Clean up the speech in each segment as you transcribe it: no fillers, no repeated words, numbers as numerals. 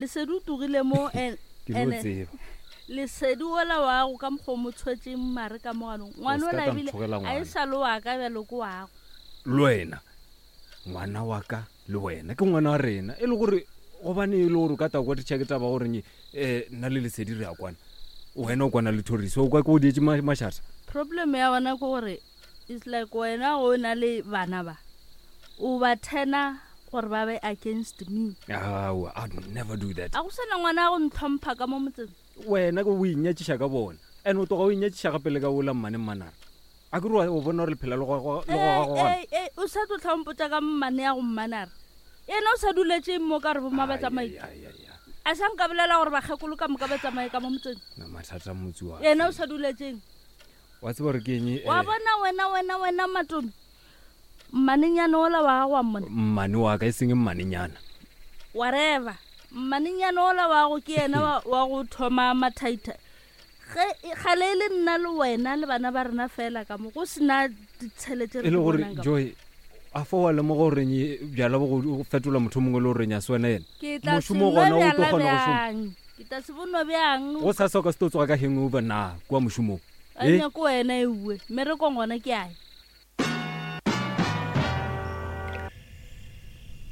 Lesedi o togile mo en- Ke no ene tseba. Lesedi ola wago ka mokgwa o mo tshwetšeng mare ka moganong. Ngwana O se ka ola ka ebile nthogela a e ngwana. sa le wa ka bjalo ke wago. Le wena ngwana wa ka le wena ke ngwana wa rena e le gore gobane e le gore o ka ta kwa ditšha ke taba gore um nna le Lesedi re a kwana wena o kwana le Thoriso o kwa ke go dietše ma- mašata. Problem ya bona ke gore It's like wena o na le bana ba o ba turner gore ba be against me. Aowa, I'd never do that. A go sena ngwana a go ntlhompha ka mo motseng. Wena ke o inyatšiša ka bona. And o tloga o inyatšiša gape le ka ola mmane mmanare. A ke re o bona gore lephela le gogagogana. Ee, ee, o sa tlo tlhompotša ka mmane ya go mmanare. Yena o sa duletše mo ka re bomma ba tsamaile. A sa nka bolela gore bakgekolo ka moka ba tsamaye ka mo motseng. Na mathata motse wa. Yena o sa duletšeng. Wa tseba gore ke eng? Eh, Wa bona wena wena wena Matomi. Mmanenyana ola wa gago wa mmona. Mmane wa ka e seng mmanenyana. Whatever. Mmanenyana ola wa go ke yena wa, wa go thoma mathaitha. Ge e- gale e le nna le wena le bana ba rena fela ka mo go sena ditshele tše re E le di gore bonang ka mo. Joy a fa wa lemoga gore bjala bo go fetola motho o mongwe le gore ya se wena yena. Ke tla se Mošomo nwa gona o tlo bjala kgona go šoma. bjang? Ke tla se bonwa bjang? Go sasa o ka se tlo tsoga ka hangover na kua mošomong. A Eh? nyako wena eue mmerekong gona ke ae.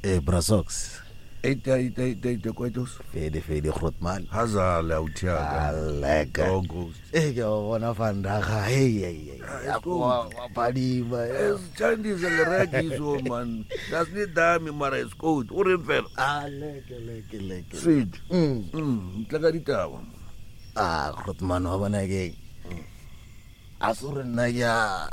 Eh, bra Socks. Eita, eita, eita, eita, kwaitos. Fede, fede, grootman. Hazale, authiaka. Aleka. Oh, ghost. Eh, ke a bona vandaga. Hey, hey, hey. Ah, Ya kwa wa phadima. Es Chinese le so man. Das ni dami mara is good. O reng fela? Ah, leke, leke, leke. Sweet. Mm. Mm, tla ka ditaba. Ah, grootman wa bona ke. A se gore nna ke a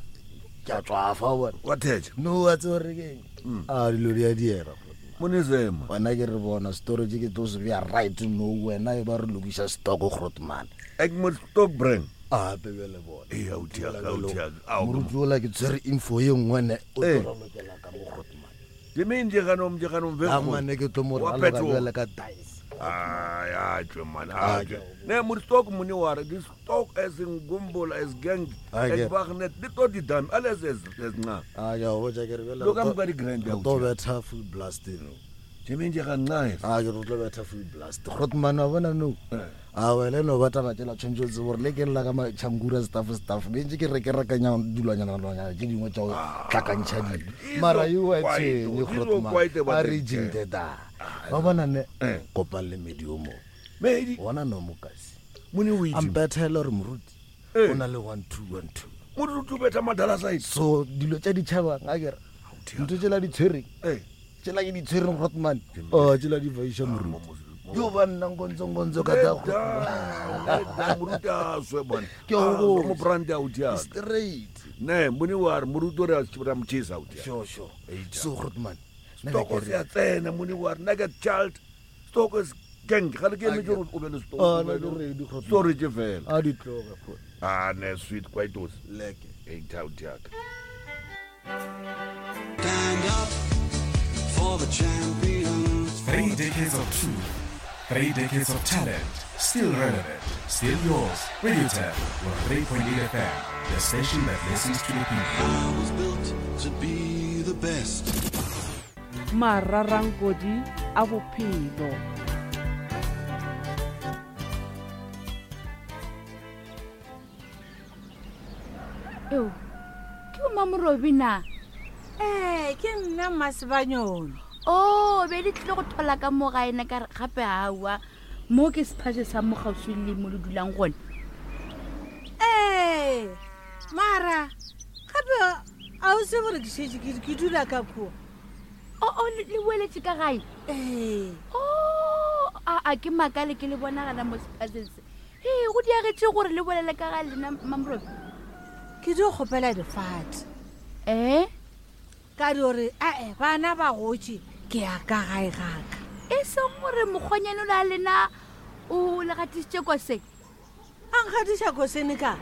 ke a tswafa wa bona. Wa thetša. No, wa tseba gore ke eng? A dilo di a diega. Monezema. Wena ke re bona storage ke tlo se bea right no wena e ba re lokiša stock grootman. Ek moet stock bring. A gape bjale bona. Ee, authiaka, authiaka. Ao, Moruti ola ke tshwere info ye nngwe ne o Ee. tlo ralokela ka mo grootman. Ke meng je ganong je ganong A mane ke tlo mo Wa raloka phetoga. bjale ka dice. Ai, a tšwe man, Ah, a tšwe. Ne mo stock mone wa re di stock as in gumbola as gang Ah, as ke- bagnet di to di dam alles as as nca. A ke a go botša ke re bjale Lo ka re moka di grand re ya tlo betha full blast no. Je meng je ga nca. A ke re tlo betha full blast. Grootman wa bona no. A wena no ba taba tšela tshwanetse o tsebe gore le ke lla ka matšhankura staff staff be ntse ke re ke rekanya dilwanyana lwanyana tše dingwe tša go tlakantšha dilo. Mara you wa tshwenye Grootman. A re jinte da. Wa bona ne kopang le medi o mo. Medi. Bona no mokasi. Mone o A itse. mpethele gore moruti Eh. o na le 1 2 1 2. Moruti o betha madala side. So dilo tša ditšhabang a kere ntho tšela di tshwereng. Eh. Tšela ke di tshwereng Grootman. Oh tšela di faiša moruti. Yo ba nna nkonzo nkonzo ka tla Grootman. Moruti a swe man. Ke a go botša. Mo brand ya authiaka. Straight. Ne, mone wa re moruti o re a ra mo chesa authiaka. Sure sure. So Grootman. nna be Stock ke se re- a tsena mone wa re nugget child. Stock is gang. Ga le ke emetse gore o be le stock. Ah, nna ke ready, Grootman. Storage fela. A di tloge Groot. Ah, ne sweet kwaitos. Leke. Eita authiaka. Stand up for the champions. 3 decades of truth, 3 decades of talent, still relevant, still yours. Radio Tab, 103.8 FM, the station that listens to the people. I was built to be the best. Mararankodi a bophelo. Eo, ke o Mamorobi na? Ee, ke nna Mmasebanyoni. Oh, be di tlile go thola ka mo gae na ka re gape aowa mo ke sephaše sa mo kgauswi le mo le dulang gone. Ee, mara gape a o se gore ke šetše ke ke dula ka kua. O o le le boeletše ka gae? Ee. Oh, a a ke makale ke le bonagala mo sephaseng se. Ee, go diagetše gore le bolele ka ga lena Mamorobi. Ke dio kgopela difate. Eh? Ka dio re ae bana ba gotše ke ya ka gae gaka. E seng gore mokgonyane o le a lena o le gatišitše koseng. A nkgatiša kosene ka?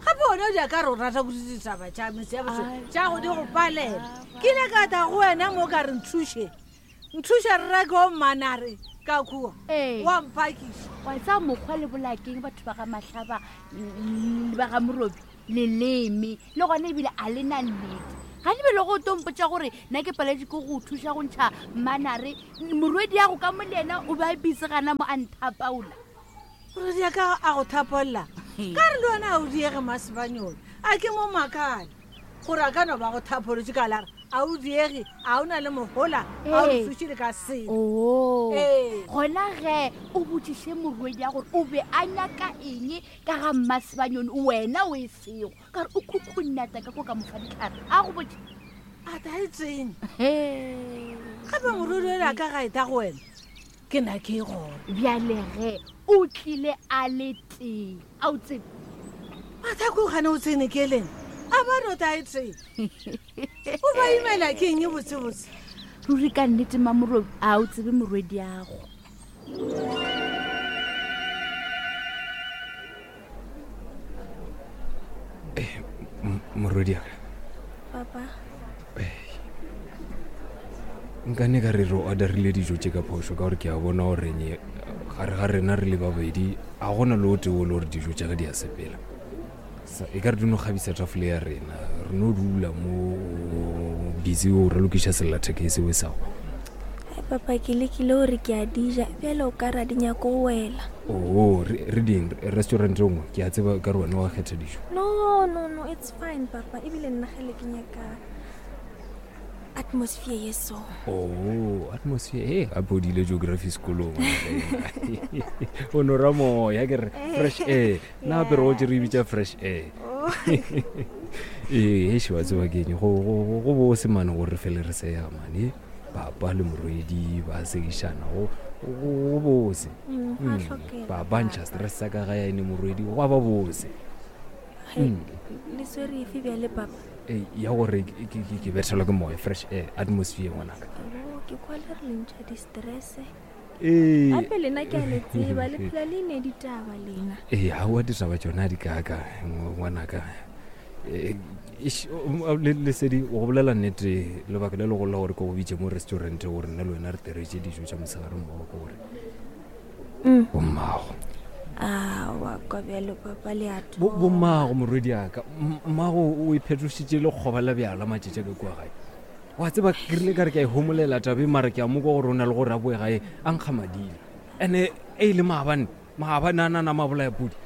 Gape wena o di ka re o rata kudu ditaba tša metse ya boso tša go di go palela. Ke ile ka tla go wena mo ka re nthuše. Nthuše re reke o mmanare ka kua. Ee. Wa mphakiša. Wa tseba mokgwa le bolakeng batho ba ga Mahlaba le ba ga Morobi leleme le gona ebile a le na nnete. Ga di bele go tompotša gore nna ke paletše ke go thuša go ntšha manare morwedi ya go ka mo le yena o be a busy gana mo a nthapaola. Morwedi ya ka a go thapolla ka re le wena a o diege masebanyone a ke mo makale gore a ka no ba go thapolotše ka lara a o diege a o na le mohola a o Ee. thuše le ka selo. Oo. Ee. Gona ge o botšiše morwedi ya gore o be a nyaka eng ka ga mmasebanyone wena o e sego ka re o khukhunata ka ko ka mofa ditlhare a go botše. A ta e tsene. Gape morwedi ola ka ga eta go wena ke na ke e gona. Bjale ge o tlile a le tee a o tsebe. A ta ko gane o tsene ke leng a ba no ta e tsene. O ba imela ke eng botsebotse? Ruri ka nnete mamorobi a o tsebe morwediago. Morwediaka. Papa. Nkane ka re re orderile dijo tše ka phošo ka gore ke a bona gore nye gare ga rena re le babedi a gona le o tee o le gore dijo tša ka di a sepela. Sa e ka re di no kgabisa tafole ya rena re no dula mo busy o re lokiša sellathekeng seo e sago. Ai papa ke lekile gore ke a di ja bjale o ka ra di nyako go wela. Oo re ding restaurant e nngwe ke a tseba ka re wena wa kgetha dijo. No no no it's fine papa ebile nna gele ke nyaka atmosphere ye so. Oh, atmosphere e gape o dile geography sekolong o no ra moya ke re fresh air nna gape re gotse re bitša fresh air ee heše wa tseba keng go bose mane gore re fele re sega mane papa le morwedi ba segišana go bose ba ntšha stress sa ka ga ya ene morwedi go ba bose le swere efe bjale papa Ee, ya gore ke bethelwa ke moya fresh air atmosphere ngwanaka. Oh, ke kwa le re le ntšha di-stress Ee. gape lena ke a le tseba le phela le ne ditaba lena. Ee, aowa ditaba tšona di kaka ngwanaka. Ee, eish, Lesedi go bolela nnete lebaka le legolo la gore ke go bitše mo restaurant gore nna le wena re teretse dijo tša mosegare mmogo ke gore bommago. Aowa kwa bjalo papa le a Bo- bommago morwedi aka mmago o iphetošitše lekgoba la bjala matšatši a ka kua gae wa tseba ke rile ka re ke a e homolela tabe mara ke a mo kwa gore o na le gore a boe gae a nkga madila ande e le maabane maabane a nana mabolaya pudi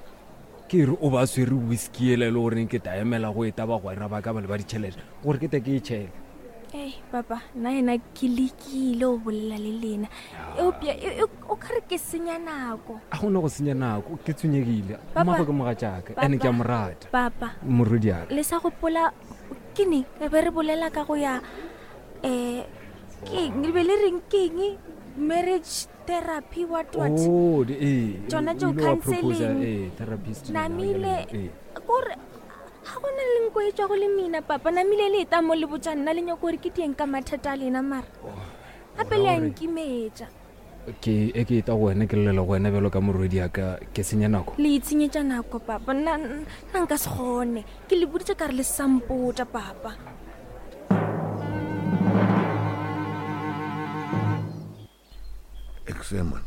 ke re o ba swere whisky ela e le goreng ke taemela go eta bagwera ba ka ba le ba ditšhelete gore ke te ke e tšhele Ei, papa nna ena ke lekile go bolela le lena eupša e- e- o ka re ke senya nako. A gona go senya nako ke tshwenyegile. Papa, Mmago ke mogatšaka ande ke a mo rata. Papa Morwediaka. Le sa gopola ke neng re be re bolela ka go ya um keng le be le reng keng marriage therapy what what. Oh, ee. Tšona O tšeo ile wa proposa, counseling. ee, therapist Namile ee. kore ga gona le nko e tswa go le mina papa namile le eta mo le botša nna le nyako gore ke dieng ka mathata a lena mara gape le a nkimetša. Ke e ke eta go wena ke llela go wena bjalo ka morwedi ya ka ke senya nako. Le itshenyetša nako papa nna nna nka se kgone ke le boditše ka re le sampotša papa. Ek sê man,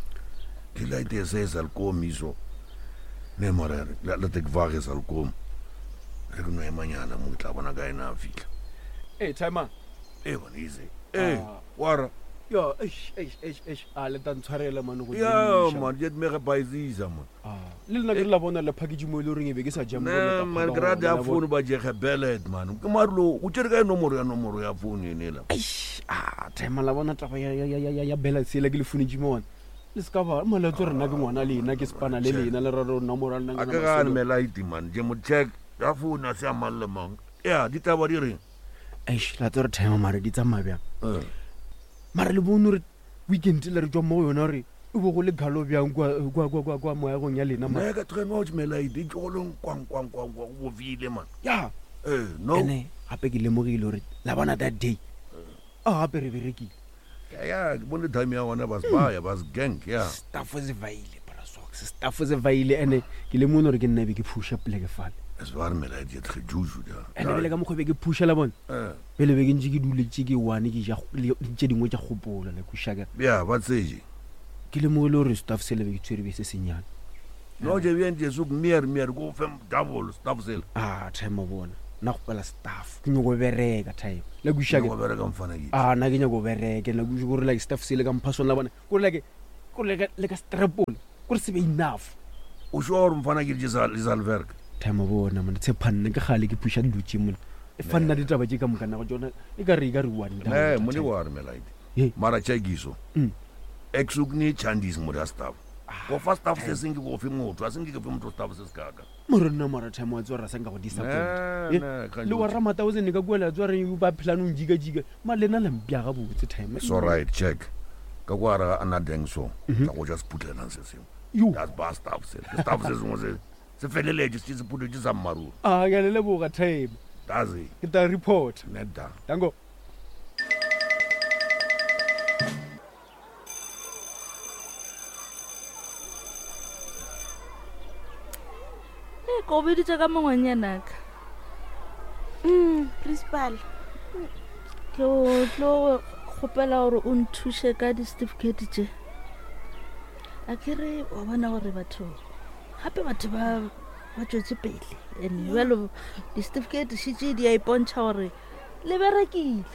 die light sê sal kom hierso. Nee maar laat ek wag hy sal kom. Re ke no emanyana mo ke tla bona ka ena a fitlha. Hey, timer. Ee man, easy. Ee, wara. Ja, eish, eish, eish, eish. A le tla ntshwarela man go Ja diemiša. man, jy het my gebaisisa man. Le nna ke re la bona le package mo e le goreng e be ke sa ja mo Nee le ka man, phaka ke rata gona, ya la bona. phone ba je gebel het man. Ke marlo, o tsere kae nomoro ya nomoro ya phone ene la? Eish, ah, timer la bona taba ya ya ya ya ya balance ela ke le founetše mo ona. Le se ka ba malatso rena ke ngwana lena ke spana le lena le ra re nomoro ya lena A ke ke na gane masolo. melaiti man, je mo check ya phone a se a mang le mang. Ya, ditaba di reng? Eish, la tsere timer mare di tsamaya bjang? Mara le bone gore weekend le re tswa mo go yona gore e bo go le galo bjang kwa kwa kwa kwa kwa moagong ya lena mara. Nee, ka train watch melaiti e tjolong kwang kwang kwang kwang go bofile man. Ya. Eh, no. Ene gape ke lemogile gore la bona that day. A gape re berekile. Ya ya, ke bone time ya gona ba se baya, ba se gang ya. Staff se vaile bra socks, staff se vaile ene ke lemone gore ke nna be ke phusha poleke fale. Es waar melaiti het gejuju ja. Ene bele ka mokgwa be ke phusha la bona. Pele be ke ntse ke duletse ke one ke ja tše dingwe tša kgopola le kushaka. Ya, ba tseje. Ke lemogile gore staff se le be ke tshwere be se senyane. No je bien je soek meer meer go fem double staff sel. Ah, time bona. Nna gopela staff ke nyako bereka time la kwešiša Nyako bereka mfana ke a nna ke nyako bereke la kwešiša gore like staff se le ka mpha sona bona kore like kore le ka le ka strapole kore se be enough. O sure gore mfana ke di sa le bereka? Time bona mona tshepa nna ke gale ke pusha dilo tše mona e fa nna ditaba tše ka moka nago tsona e ka re e ka re one Ne, mone wa re melaite. Mara check iso. Ek soek nie chandis mo da staff. Go fa staff se seng ke go fe motho, a seng ke fe motho staff se se kaka. Mara nna mara time wa tswa ra sanka go disappoint. Ne, ne, Le wa ramata o tsene ka kua la tswa re ba phela nong jika jika. Ma lena la mpya ga botse time. It's all right, check. Ka kwa ra ana deng so. Tla go ja seputlelang se sengwe. Yo. That's bar staff se. Ke staff se sengwe se. Se feleletše se seputletše sa mmaruri. A ke a le leboga time. That's it. Ke tla report. Net da. Danko. Ee, ko biditše ka mongwanyanaka. Principal. Ke o tlo kgopela gore o nthuše ka di-certificate tše. A ke re wa bona gore batho gape batho ba ba tšwetse pele and jalo di-certificate šetše di a ipontšha gore le berekile.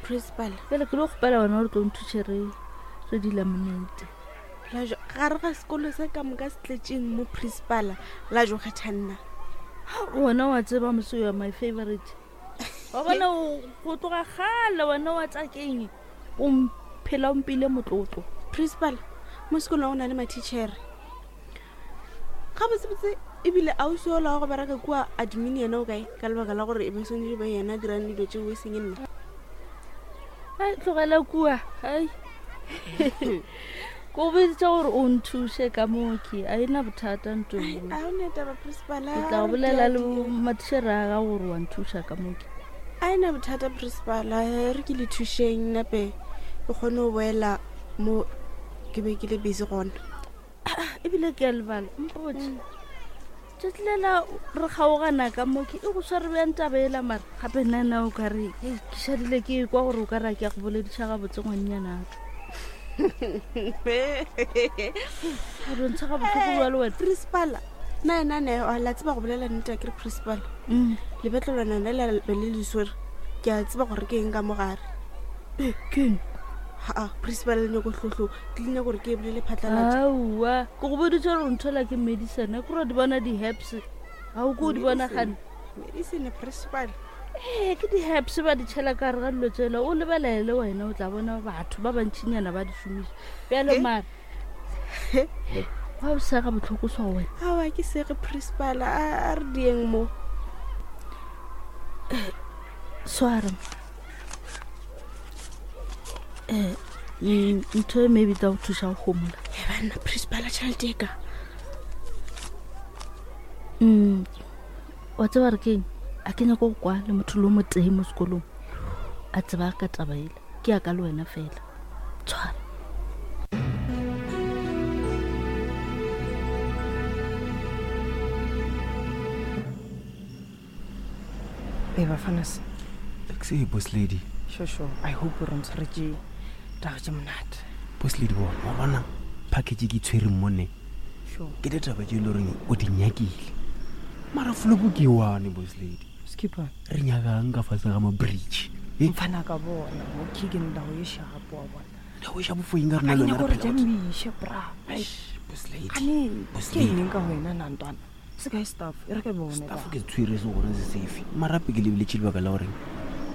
Principal. Bjale ke lo kgopela wena gore tlo nthuše re re di laminate. Lajo gare ga sekolo se ka moka se tletšeng mo principal la jo kgetha nna. Wena wa tseba mose you are my favorite. Wa bona go tloga kgale wena wa tsa keng o mphela o mpile motlotlo. Principal, mo sekolong go na le matitšhere. Gabotsebotse ebile ausi ola wa go bereka kua admin yena o kae ka lebaka la gore e be swanetše be yena a dirang dilo tšeo e seng nna. Ai tlogela kua ai ko biditše gore o nthuše ka mooki a ena bothata ntong. A o ne taba principal. Ke tla bolela le matitšhere a ga gore wa nthuša ka mooki. A ena bothata principal, re ke le thušeng nape ke kgone go boela mo ke be ke le busy gona. Ebile ke a lebala mpotse tšatši lela re kgaogana ka mo ke e go sware bjang taba ela mara gape nna nna o ka re ke šadile ke kwa gore o ka re a ke a go bolediša gabotse ngwannyanaka. A dontsha ga bohloko bjalo wena. Principal, nna ena ne la tseba go bolela nnete ke re principal. Lebetlelwana le la be le le swere. Ke a tseba gore ke eng ka mogare. Ke eng? Ha, principal le nyako hlohlo, ke le nyako gore ke e bolele phatlalatša. Aowa, ke go boditše gore nthola ke medicine, ke gore di bona di-herbs. Ga o ko di bona gane. Medicine principal. Ee, ke di-herbs ba di tšhela ka gare ga dilo tsela, o lebelele wena o tla bona batho ba bantšinyana ba di šomiša. Bjale mara wa o sega bohloko so wena. Aowa, ke sege principal, a re dieng mo. Swara. Ntho e maybe tla go thuša go gomola. E banna principal tšhelete e ka. Wa tseba re keng? A ke nyako go kwa le motho le o motee mo sekolong a tseba ka taba ela. Ke ya ka le wena fela. Tshwara. Hey, Bafanas. Taxi, boss lady. Sure, sure. I hope re ntshwaretse taba tše monate. Boss lady bona, wa bona package ke tshwereng mo ne. Sure. Ke ditaba tše e le goreng o di nyakile. Mara flopo ke one, boss lady. Skipper. Re nyakang ka fase ga ma-bridge. Mfana ka bona, mo ke ke ndao ye shapo wa bona. Ndao ye shapo fo eng ka rena le wena re gore phela jamiše bra. Eish, boss lady. Gane, Boss ke lady. eng ka wena na ntwana? Se kae staff, e re ke bone Staff ke tshwere se gore se sefe. Mara gape ke lebeletše lebaka la gore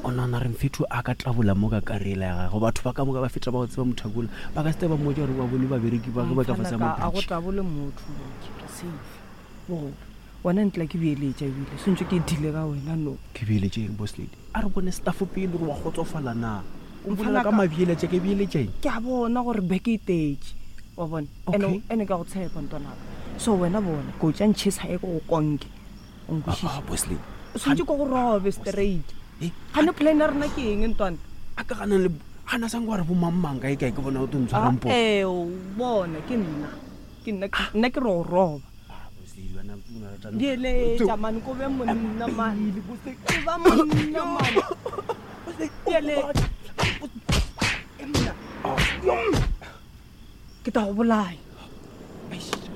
o nagana re mfetho a ka tlabola mo ka karela ya gagwe. Batho ba ka moka ba feta ba go tseba motho a kola. Ba ka se ba mmotša gore ba bone babereki ba ge ba ka fase ga Mfana ka, a go ma-bridge. tlabole motho, ke re safe. Bogolo, wena ntla ke beeletša ebile, sentse ke dile ka wena no. Ke beeletše eng, boss lady? A re bone staff pele gore wa kgotsofala na. O mpolela Mfana ka ka- mabeeletša, ke beeletša eng? Ke a bona gore beke e tetše, wa bona. Okay. Ene ka go tshepa ntwanaka. So wena bona, ko tša ntšhesa e ko go konke. O nkwešiše? Ah, boss lady. O tshwanetse ko go robe straight. Gane plan ya rena ke eng ntwana? A ka gana le gana sang wa re bo mang mang kae kae ke bona o tlo ntshwarang poo. Ee, o bona ke nna. Ke nna, nna ke re o roba. Dieletša mane, ko be monna mane. Ko ba monna mane. Dieletša. Ke tla go bolaya.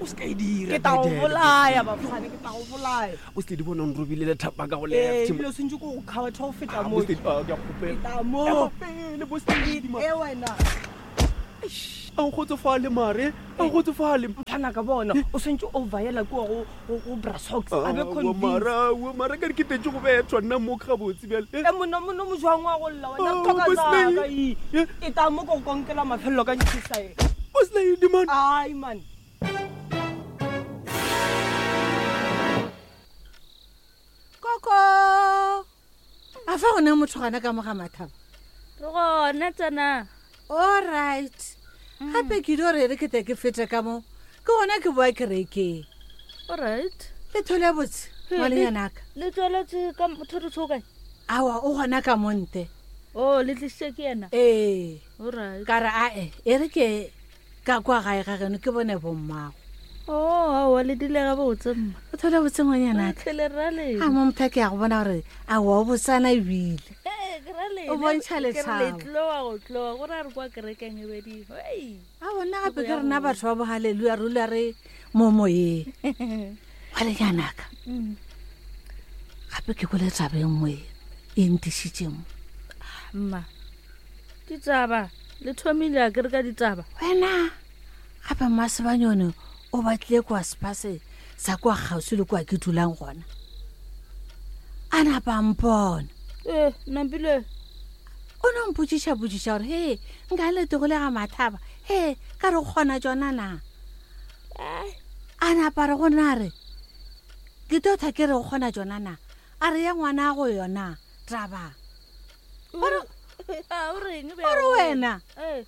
O se ka e dira. Ke tla go Bidele, bolaya bafane, ke tla go bolaya. O se di bona o nrobile lethapa ka go Ee, left. ebile o sentse ko go kgaotha go feta Ah, mo. Bosted, ah, ke a kgopela. Ke tla mo. Ema pele, Bosted, ma. E wena. A o kgotsofale mare, a o kgotsofale. Mthana ka bona, o sentse o vaela kua go go go Brasox. A be Aowa, convinced. mara, aowa, mara ka re ke tetse go bethwa nna mo gabotse bjale. E monna monna mo jwang wa go lla wena Oh, thoka Bosney. tsaka e. E tla mo go konkela mafelelo ka ntshisa e. Bosney man. Ai man. Koko. A fa gone motho gana ka mo ga mathaba? Re gona tsena. All right. Gape ke dio re re ke tle ke fete ka mo. Ke gona ke boa kerekeng. All right. Le thole botse ngwanenyanaka. Le tsweletse ka thoriso kae? Awa o gona ka monte. Oh, le tlisitse ke yena? Ee. All right. Ka re ae, e re ke ka kwa gae ga geno ke bone bommago. Oh, aowa le dile ga botse mma. O thole botse ngwanyanaka. Tlhele ra lena. A mo motho ke ya go bona gore aowa o botsana ebile. Eh, ke ra lena. O bontšha Ke re le lethabo. tloa go tloa go ra re kwa kerekeng e bedimo. Hei. A bona gape ke rena batho ba bohaleluya rula re mo moyeng. Ngwanenyanaka. Gape ke kwele taba e nngwe e ntišitše mo. Mma. Ditaba le thomile a ke re ka ditaba. Wena gape mmasebanyone o batlile kwa sepase sa kwa kgauswi le kwa ke dulang gona. A napa a mpona. Eh, nampile. O no mpotšiša-potšiša gore he nka letego le ga mathaba he ka re o kgona tsona na. A napa re go nna re ke tlo tha ke re o kgona tsona na a re ya ngwana go yona taba. A o reng O re wena Eh.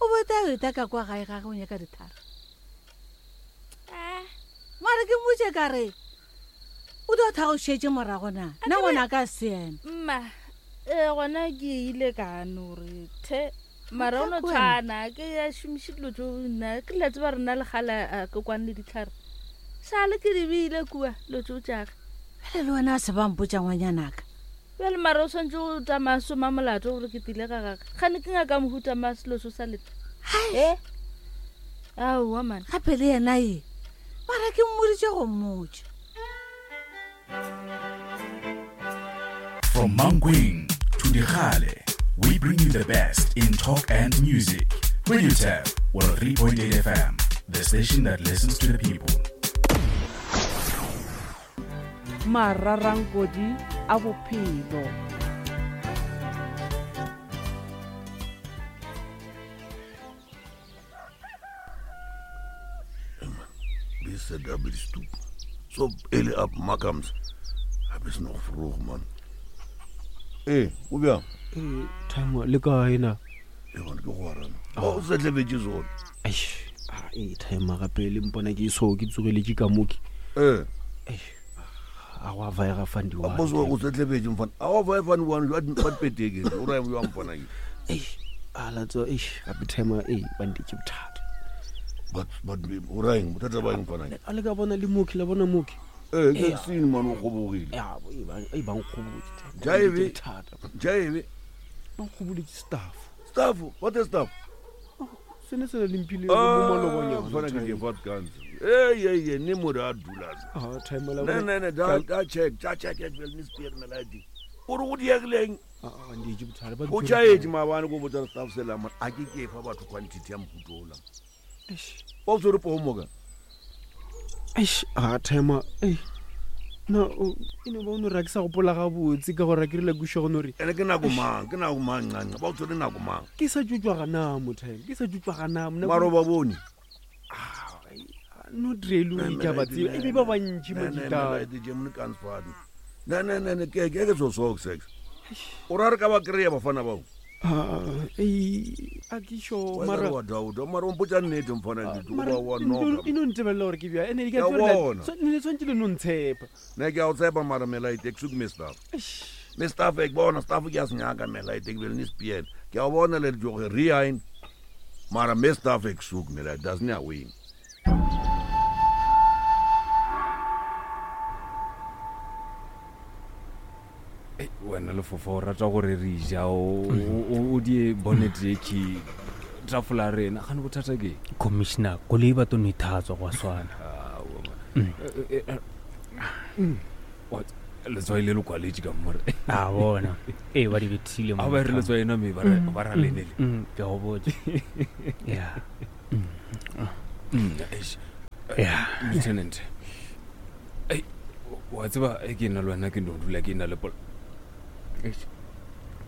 o bota o eta ka kwa gae gage o nyaka ditharo. Mare ke mmotse ka re o tlo tha go šetše morago na nna ngwana ka se ena. Mma, eh gona ke ile ka no re the mara o no Ke wena. tshwana ke ya šomiše dilo tso nna ke la tseba rena le gala a ke kwane le ditlhare sale ke di beile kua dilo tso tšage Bjale le wena se ba mpotša ngwanyanaka. bjale mara o tshwanetse go tsamaya soma molato gore ke tile ga gage gane ke ngaka mohuta ma selo so sa leta e aowa man Gape le yena e mara ke mmoditše go mmotša. From Mankweng to Digale, we bring you the best in talk and music. Radio Tab, 103.8 FM, the station that listens to the people. Mararankodi a bophelo. Bis daar by die stoep. So early up Makams. Heb is nog vroeg man. Eh, o bjang? Eh, Time le kae na? E gona ke go arana. O se tlebetse zone. Eish, ah, eh time gape le mpona ke so ke tsogeletše ka moke. Eh. A go a vaega fandi wa. Boss o se tlebetse mfana. A wa vae fani one you at peteke. O ra yo mfana ke. Eish, a la tswa eish gape time eh ba ntetse bothata. But but o ra eng bothata ba eng mfana ke? A le ka bona le moki la bona moki. Eh, ke seen man o gobogile. Ya, bo e ba e ba nkgobotse. Jaive. Bothata. Jaive. Ba nkgoboletše staff. Staff, what is staff? Sene se le mphile Ah, mo malobanyana. mfana ke ke fat guns. Hey, hey, hey, ne mo ra dula. Ah, time la Ne ne ne da da check, da check it well ni spear me ladi. O re go diegileng? Ah, ah, nditše bothata. Ba O tšhaetše maabane ko botsa staff sela man. A ke ke fa batho quantity ya mohuta ola. Ba o tshwere poo moka. Eish, ah, time eh. Na o e no ba o no re ha ke sa gopola gabotse ka gore ke rile kuša go no re Ene ke nako mang, ke nako mang ncanca. Ba o tshwere nako mang. ke sa tšotswa gana mo time ke sa tšotswa gana mo Mara o ba bone. not really o ke a ba tseba e be ba bantši majita Ne ne ne ne ke ke ke so so sex. O ra re ka ba kry-a bafana bao. Ah, ei, a ke sure Mara mara wa dauda mara o mpotsa nnete mfana ke mara wa wa noka. e no ntebelela gore ke bja ene Ke a bona. ne tshwanetse le no ntshepa Ne ke a o tshepa mara melaite ke suke me staff. Me staff e ke bona staff ke a se nyaka melaite ke bele ni spiel. Ke a bona le joge rein. Mara me staff e ke suke melaite doesn't ya win. Ei, wena lefofa o rata gore re ja o di bonnet e ke tafola rena gane bothata ke Commissioner, koloi ba to no ithatswa go a swana. Letswai le le kwaletše ka more. A bona. Ee, ba di bethile mo. A ba re letswai na me ba re ba ra lenele. Ke a go botša. Ya. Eish. Ya. Lieutenant. Ei, wa tseba e ke nna le wena ke no dula ke na le pol. Eish.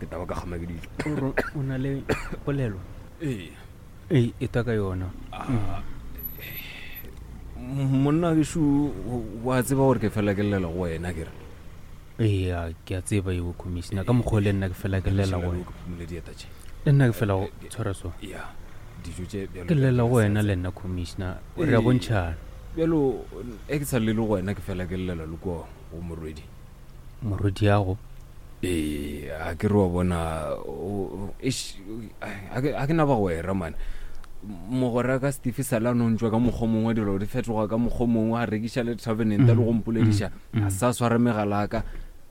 Ke taba ka kgama ke dijo. O re o na le polelo? Ee. Ee, e ta ka yona. Monna gešo wa tseba gore ke fela ke llela go wena ke re. Ee, ke a tseba eo commissioner ka mokgwa o le nna ke fela ke llela go wena. Phumule dieta tše. Le nna ke fela go tshwara so. Ya. Dijo tše bjalo. Ke llela go wena le nna commissioner. Re a bontšhana. Bjalo e ke sa llele go wena ke fela ke llela le kua go morwedi. Morwediago? Ee, a ke re wa bona eish, a ke na bagwera mane. Mogwera ka Steve sala no ntšwa ka mokgwa mongwe dilo di fetoga ka mokgwa mongwe a rekiša le Travenant le go mpolediša a sa sware megala ka.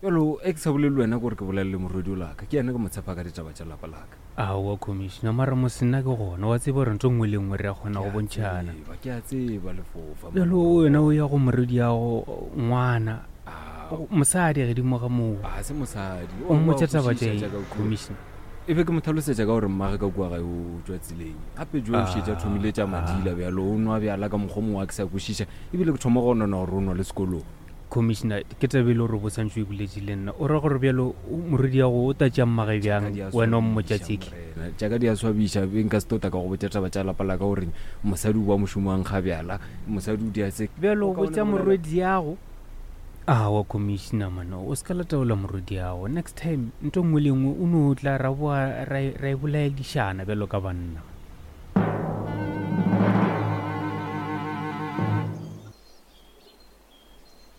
Bjalo e ke sa bolele le wena gore ke bolele le morwedi o laka ke yena ke mo tshepa ka ditaba tša lapa laka. Aowa Commissioner, mara mos nna ke gona wa tseba gore ntho nngwe le nngwe re a kgona go bontšhana. Ke a tseba lefofa. Bjalo wena o ya go morwediago ngwana mosadi gedimo ga moo. A se mosadi. O mmotša taba tše Commissioner. E be ke mo tlhalosetša ka gore mmage ka kua gae o tšwa tseleng. Gape jo o šetše a thomile tša madila bjalo o nwa bjala ka mokgwa mongwe a ke sa kwešiša ebile ke thoma go nona gore o nwa le sekolong. Commissioner, ke taba e le gore o santše o e boletše le nna. O ra gore bjalo morwediago o ta tšea mmage bjang wena o mmotša tseke? Tša ka di a swabiša be nka se tota ka go botša taba tša lapa la ka gore mosadi o ba mošomo wa nkga bjala mosadi o dia se. Bjalo o botša morwediago? Aowa Commissioner man, o se ka la taola morwediago. Next time nto nngwe le nngwe o no tla ra boa ra e bolaedišana bjalo ka banna.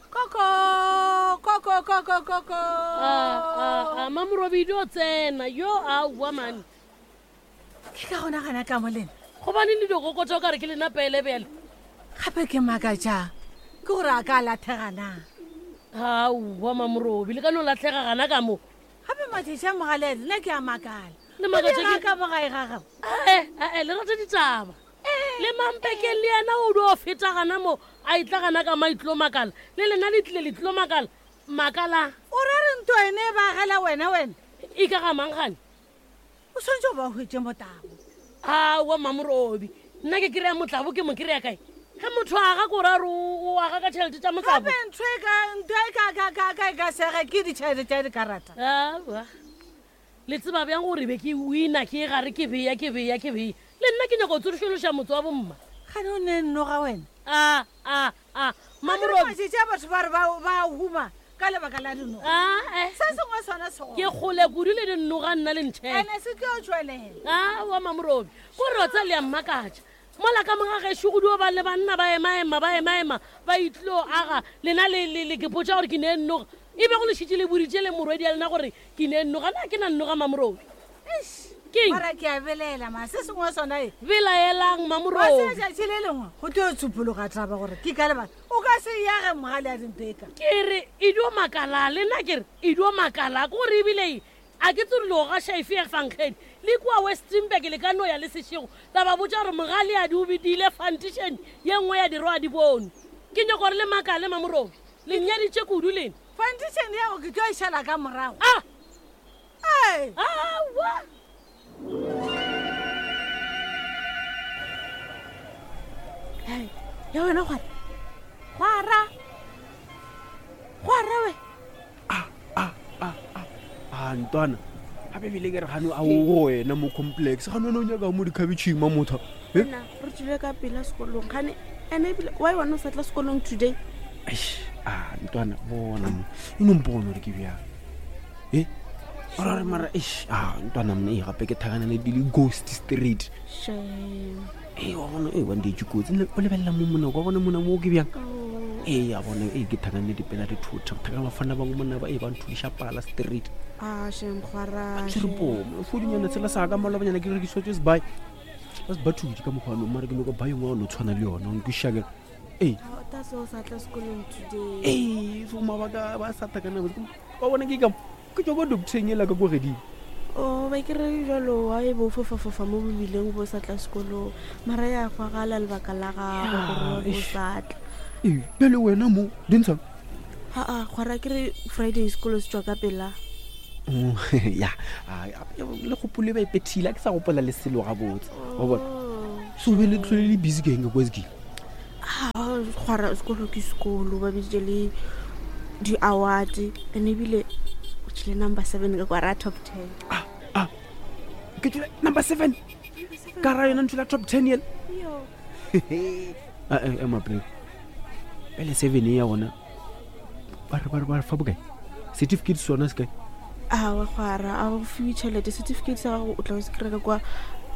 Koko, koko, koko, koko. A, a, a, Mamorobidi o tsena, yo aowa mane. Ke ka gona gana ka mo lena. Gobane le dikoko tša o ka re ke lena pele bjale. Gape ke makatša ke gore a ka lathega na. Aowa Mamorobi, le ka no latlhega gana ka mo. Gape matšatši a mogalele nna ke a makala. Le makatša ke- ka mo gae ga gago. Ae, ae, le rata ditaba. Le mampekeng le yena o dio feta gana mo a itla gana ka maitlo makala. Le lena le tlile le tlilo makala. Makala. O ra re nto ene e ba agela wena wena? E ka ga mang gane? O swanetše go ba hwetše motlabo. Aowa Mamorobi, nna ke kry-a motlabo ke mo kry-a kae? Ge motho a aga ko ra re o aga ka tšhelete tša motlabo. Gape ntho e ka ntho e ka ka ka ka e ka sege ke ditšhelete tša dikarata. Aowa. Le tseba bjang gore be ke wina ke gare ke beya ke beya ke beya. Le nna ke nyaka go tsošološa motse wa bomma. Gane o ne nnoga wena? A a a Mamorobi. Matšatši a batho ba re ba ba huma ka lebaka la dinoga. A eh. Se sengwe sona se gona. Ke kgole kudu le dinoga nna le ntšhele. Ene se tlo tšwelela. A wa Mamorobi. Ko re wa tsa le ya mmakatša. Mola ka moga gešo go dio ba le banna ba emaema ba emaema ba itlilo aga lena le le le ke potša gore ke ne nnoga. E be go le šitše le boditše le morwedi ya lena gore ke ne nnoga na ke na nnoga Mamorobi. Eish. Keng? Mara ke a belaela ma se sengwe sona e. Belaelang Mamorobi. Wa tseba tšatši le lengwe go tlo tshupologa taba gore ke ka lebaka o ka se yage mogale a dimpeka. Ke re e dio makala le nna ke re e dio makala ko gore ebile a ke tsore lo gaša efe ya fankgedi le kua Westinburg le ka no ya le sešego la ba botša gore mogale a di o bedile fantišene ye nngwe ya dirwa di bone. Ke nyoko gore le makale Mamorobi le nnyaditše kudu lena. Fantišene ya go ke tlo e šala ka morago. Ah! Ee. Aowa. Hei, ya wena gwara. Gwara. Gwara we. A ntwana gape ebile ke re gane a o wena mo complex gane wena o nyaka mo dikhabitšhing ma motho Eh? Nna re tswile ka pela sekolong gane ene ebile why wena o sa tla sekolong today? Eish, a ntwana bona mo e no mpone gore ke bjang e ora re mara eish a ntwana mne e gape ke thakana le dile ghost street Shame. ee wa bona ee wandetse kotsi o lebelela mo mona wa bona mona mo ke bjang ee a bona ee ke thakane dipela di thotha thakana bafana bangwe mona ba ee ba nthudiša pala street Ah, shame gwara. tshwere pomo fodinyana tshela sa ka malobanyana ke rekiswa tse sebae ba se ba thudi ka mokgwa mara ke nyoko ba yengwe wa no tshwana le yona nkwišake ee That's why o sa tla sekolong today. ee so mabaka ba sa thakana ba bona ke ka ke tswa ko doctoreng ela ka ko gedimo O ba ke re jalo wa e bo fofafofa mo bobileng bo sa tla sekolong mara ya kwagala lebaka la gago gore wa bo sa tla. Ee, bjale wena mo dintshang Aa kgwara ke re Friday sekolo se tšwa ka pela. Oh, ya le gopole ba ipethile a ke sa gopola le selo gabotse wa bona so be le tlhole le busy ke eng ka kwa sekile A kgwara sekolo ke sekolo ba biditše le di-award and ebile o tšhile number 7 ka kwara top 10. Ke tšwele number 7 ka ra yona ntho la top 10 yela. Yo. Ema pele pele 7 e ya gona ba re ba re ba re fa bokae certificate sona se kae? Awa kgwara a go fiwe tšhelete certificate sa gago o tla se kry-a ka kwa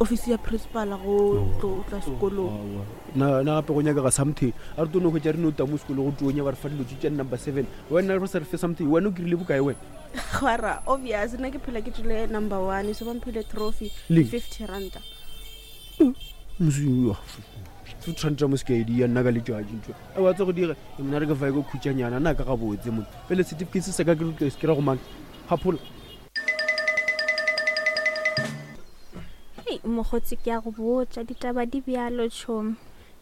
office ya principal go tlo o tla sekolong. Na na gape go nyakega something a re tlo no hwetša re no tamo sekolo go tonya ba re fa dilo tše tša number 7 wena re sa re fe something wena o kry-ile bokae wena? Kgwara obvious nna ke phela ke tšwele number 1 so ba mphile trophy Leng? 50 ranta. Tshwantsha mo sekaedi ya nna ka letšatši ntho e wa tse go dira mna re ke fae ko khutšanyana nna ka gabotse mo pele certificate se ka ke tlo se kry-a go mang gaphola. Hei mokgotsi ke a go botša ditaba di bjalo tšhomi.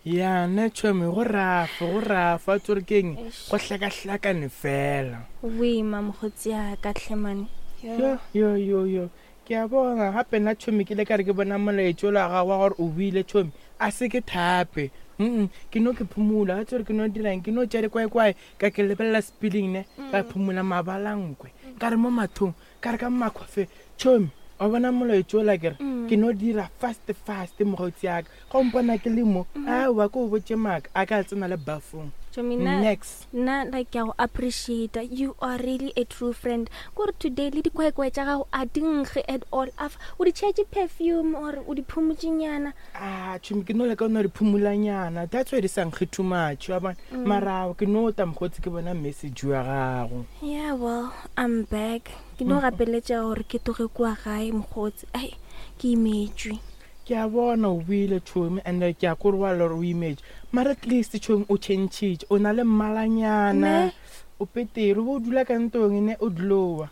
Ya nna tšhomi go rafa go rafa tsore keng go hlakahlakane fela. Go boima mokgotsi ya ka tlhemane. Yo yo yo yo Ke a bona gape nna tšhomi ke le ka re ke bona molaetšo ola gago wa gore o boile tšhomi a se ke thape mm ke no ke phumula ga tsore ke no dirang ke no tša dikwaekwae ka ke lebelela speeling ne ka phumula mabalankwe ka re mo mathong ka re ka makgwafe tšhomi wa bona molaetšo ola ke re ke no dira fast fast mokgotsi yaka ga o mpona ke le mo aowa ke o botše maaka a ka tsena le bafong Tšhomi nna next nna like ke a go appreciate you are really a true friend kore today le dikwaekwae tša gago a di nkge at all afa o di tšhetše perfume or o di phumotšenyana a tšhomi ke no leka o no re phumulanyana that's why di sa nkge too much wa bona marao ke no ta mokgotsi ke bona message wa gago yeah well i'm back ke no gapeletša gore ke tloge kua gae mokgotsi ai ke imetšwe Ke a bona o boile tšhomi and ke a kore wa lore o imetše mara at least tšhomi o changile o na le mmalanyana Ne. o petere o bo o dula ka ntong ne o glowa.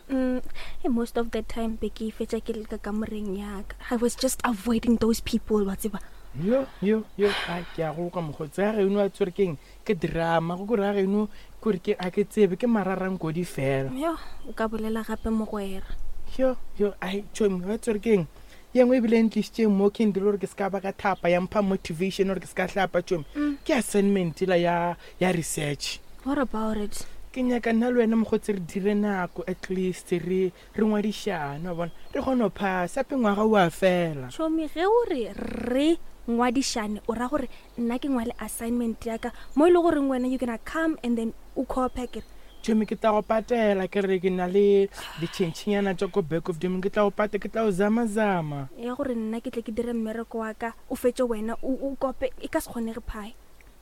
Hey, most of the time be ke fetša ke le ka kamoreng yaka I was just avoiding those people wa tseba. Yo yo yo a ke a go kwa mokgotsi ga geno a tswere keng ke drama go kore ga geno kore ke a ke tsebe ke mararankodi fela. Yo o ka bolela gape mogwera. Yo yo ai tšhomi wa tswere keng ye nngwe ebile e ntlišitšeng mo ke ndire gore ke se ka ba ka thapa ya mpha motivation gore ke se ka hlapa tšomi ke assignment la ya ya research. What about it? Ke nyaka nna le wena mokgotsi re dire nako at least re re ngwadišane wa bona re kgone go phasa ape ngwaga o a fela. Tšhomi ge o re re ngwadišane o ra gore nna ke ngwale assignment ya ka mo e le goreng wena you gonna come and then o copy akere. Tšhomi ke tla go patela ke re ke na le ditšhentšhinyana tša ko back of them ke tla go pate ke tla go zamazama. Ya gore nna ke tle ke dire mmereko wa ka o fetše wena o o kope e ka se kgonege phae.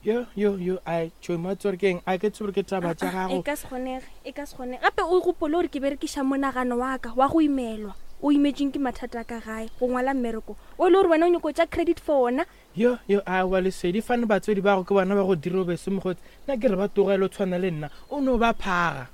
Yo yo yo ai tšhomi wa tsore keng a ke tsebe gore ke taba tša E gago. ka se kgonege e ka se kgonege gape o gopole gore ke berekiša monagano wa ka wa go imelwa o imetšweng ke mathata a ka gae go ngwala mmereko o e le gore wena o nyako tša credit for ona. Yo, yo, aowa, Lesedi, fane batswadi bago ke bona ba go dira o be se mokgotsi. Nna ke re ba tlogele o tshwana le nna, o no ba phaga.